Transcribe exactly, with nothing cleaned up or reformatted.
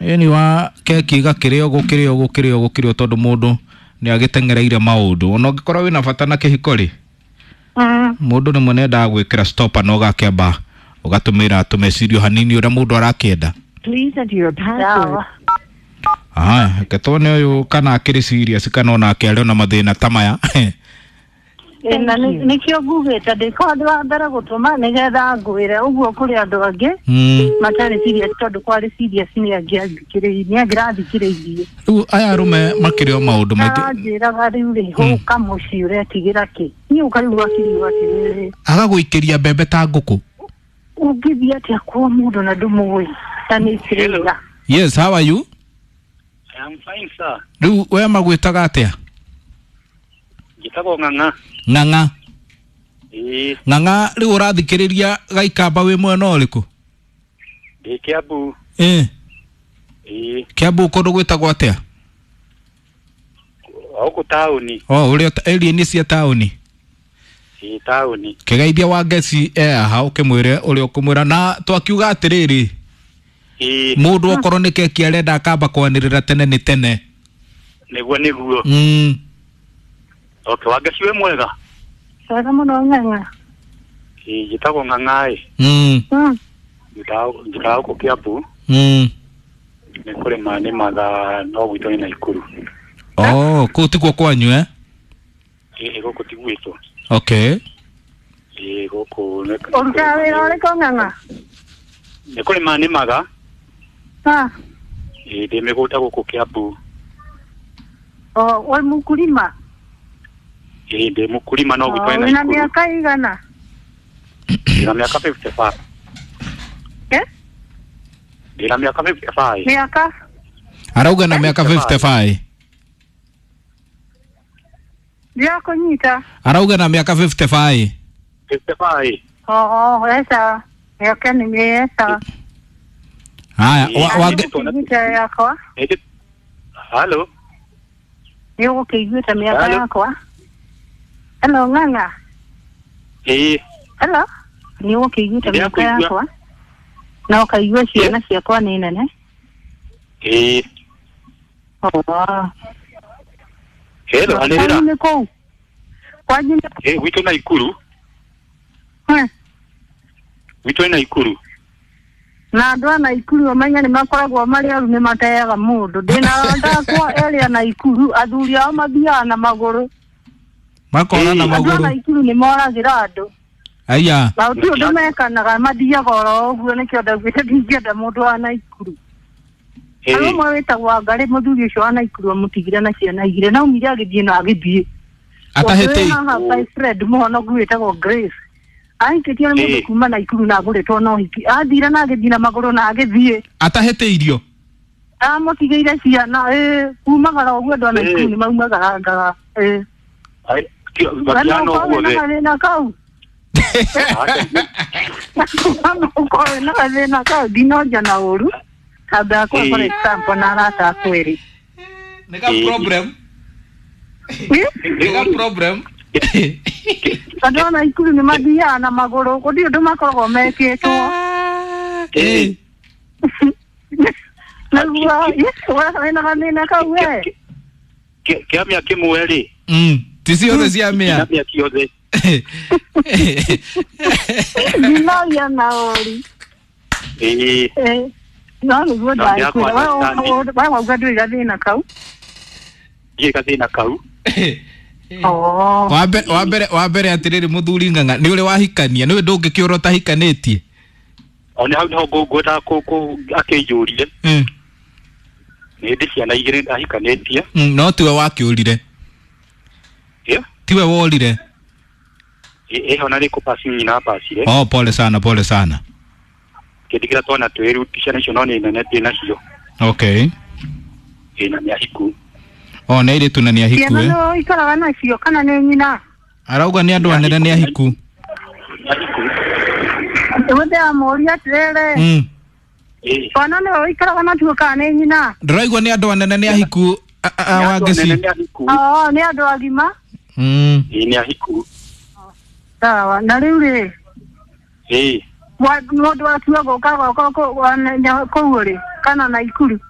Ĩni wa keki gakĩrĩo gũkĩrĩo gũkĩrĩo gũkĩrĩo tondũ mũndũ nĩ agĩteng'ereire maũndũ. Ona ũngĩkorwo wĩna bata na kĩhiko rĩ, Mm. mũndũ rĩmwe nĩ endaga gwĩkĩra stopper na ũgakĩamba ũgatũmĩra tũmecirio hanini ũrĩa mũndũ arakĩenda. Please enter your password. Sawa. Aya, reke tuone ũyũ kana akĩrĩ serious kana onake arĩ ona mathĩna ta maya. Ĩ, na nĩ- nĩkĩo ngugĩte ndĩkorwo ndĩ wa mbere gũtũma nĩgetha ngwĩre ũguo kũrĩ andũ angĩ Mm. matarĩ serious tondũ kwarĩ serious nĩ angĩathikĩrĩirie nĩ angĩrathikĩrĩirie. Rĩu aya arũme makĩrĩ o maũndũ maingĩ. Aranjĩraga rĩu rĩ hũka mũciĩ ũretigĩra kĩ niĩ ũkarigwo akirigo atĩrĩrĩ Agagũikĩria mbembe ta ngũkũ. ũngĩthiĩ atĩa kwa mũndũ na ndũmũĩ na nĩ kĩrĩra. Yes, how are you? I am fine, sir. Rĩu we magwĩtaga atĩa? Njĩtagwo Ng'ang'a. Ng'ang'a. Ĩĩ, Ng'ang'a rĩu ũrathikĩrĩria Gaikamba wĩ mwena ũrĩkũ? ndĩ Kiambu. Ĩ, Ĩĩ, Kiambu kũndũ gwĩtagwo atĩa? gũkũ taũni. O, ũrĩa area-inĩ cia taũni. Ĩĩ, taũni. Kĩgeithia wa ngeci e haha ũkĩmwĩre ũrĩa ũkũmwĩra na twakiuga atĩrĩrĩ Ĩĩ, mũndũ okorwo nĩ keki arenda akamba kwanĩrĩra tene nĩ tene. nĩguo nĩguo. Mm. Okay, Wangeci wĩ mwega? Wega mũno Ng'ang'a. Ĩĩ, njĩtagwo Ng'ang'a ĩ. Mm. Mm. Njikaraga njikaraga gũkũ Kiambu. Mm. Nĩ kũrĩma nĩmaga no gwitũ nĩ Naikuru. Oh, kũu tikuo kwanyu eh? Ĩĩ, gũkũ ti gwitũ. Okay. Ĩĩ, gũkũ nĩ Ũrutaga wĩra ũrĩkũ Ng'ang'a? nĩ kũrĩma nĩmaga. Ah, Ĩĩ, ndĩ mĩgũnda gũkũ Kiambu. o wĩ mũkulima? Ĩĩ, ndĩ mũkulima no gwitũ O, nĩ wĩna Naikuru. mĩaka igana? Ndĩna mĩaka fifty-five. Eh? Ndĩna mĩaka fifty-five. Mĩaka? Arauga na mĩaka fifty-five. Ndirakũnyita. Arauga na mĩaka fifty-five. fifty-five. O, eca. Mĩaka nĩ mĩeca. Haya, Ĩĩ, wa, wa, Nĩũgũkĩiguĩte yakwa? Ĩĩ, Halo. Nĩũgũkĩiguĩte mĩaka Hello. yakwa? Hello Ng'ang'a. Ĩĩ, Hello. Nĩũgũkĩiguĩte mĩaka Ndĩrakũigua. yakwa? Na ũkaigua ciana ciakwa nĩ nene? ĩĩ. O. Hello, anĩrĩra. Kwanyu nĩ kũu? Kwanyu nĩ Ĩĩ, gwitũ Naikuru. Eh, Gwitũ nĩ Naikuru. na andũ a Naikuru ũmenye nĩ makoragwo marĩ oru nĩ mateaga mũndũ. Ndĩna arata akwa erĩ a Naikuru, athuri ao mathiaga na magũrũ. Makora na Ĩĩ. Andũ a magũrũ. Naikuru nĩ moragĩra andũ. Aya. Na gũtirĩ ũndũ mekanaga mathiaga oro ũguo nĩkĩo ndaugĩte ndingĩenda mũndũ wa Naikuru. Harĩ Ĩĩ, ũmwe wĩtagwo Wangarĩ mũthuri ũcio wa Naikuru amũtigire na ciana igĩrĩ na aumire agĩthiĩ na agĩthiĩ. Atahĩtĩi. Ũngĩ wĩ haha my friend mũhonoku wĩtagwo Grace. Ahikĩtio nĩ mũndũ Ĩĩ. kuma Naikuru na agũrĩtwo na ũhiki. Athire na agĩthiĩ na magũrũ na agĩthiĩ. Atahĩtĩirio. Amũtigĩire ciana ĩĩ kumagara ũguo andũ a Naikuru Ĩĩ. nĩ maumagarangaga ĩĩ. ai, kĩ- We no matiana ũkorwo ũguo wĩna thĩ. gathĩna kau. No ũkorwo wĩna gathĩna kau ndinonja na ũru. Kamba yakwa for Ĩĩ. example na arata akwa erĩ. Nĩ ga problem. Ĩ? Nĩ ga problem. Andũ a Naikuru nĩ mathiaga na magũrũ gũtirĩ ũndũ makoragwo mekĩtwo. Ĩĩ. Nĩguo wĩna gathĩna kau we. Kĩ- Kĩa mĩaka ĩmwe rĩ, Mm. Ti ciothe cia kĩa mĩa. mĩaka yothe. Ndinoria na ũru. Ĩĩ, Ĩ. No nĩguo No, ndakwĩra ndĩrakwa we wauga ndũrĩ gathĩna kau. ndirĩ gathĩna kau. Oh. Wa mbere wa mbere wa mbere atĩrĩrĩ mũthuri Ng'ang'a nĩ ũrĩ wahikania nĩ ndũngĩkĩũra ũtahikanĩtie. O nĩ hau nĩho ngũ- ngwendaga kũ- kũ- akĩnjũrie. Mm. Nĩ ndĩ ciana igĩrĩ ahikanĩtie. Mm, no tiwe wakĩũrire. Ĩ, Tiwe worire. ĩ- ĩho na nĩ kũpaci nyina apacire. Oh, pole sana, pole sana. Kĩndigĩra twana twĩrĩ ciana icio no nĩ nene ndĩ nacio. Okay. Ĩ, na nĩ ahiku. Oh, nĩ airĩtu na nĩ ahiku Ciana eh? nĩ ũikaraga nacio kana nĩ nyina? Arauga nĩ andũ anene nĩ ahiku. Nĩ ahiku. Nĩguo ndĩramũria atĩrĩrĩ. Mm. Ĩ, Twana nĩwe ũikaraga natuo kana nĩ nyina? Ndĩraigua nĩ andũ anene nĩ ahiku a- a- a- nĩ andũ Wangeci. anene nĩ ahiku. Oo, nĩ andũ agima. Mm. Ĩ, nĩ ahiku. Sawa. Na rĩu rĩ, Ĩ, mũndũ watua gũka gwakwa kũu rĩ, Kana Naikuru.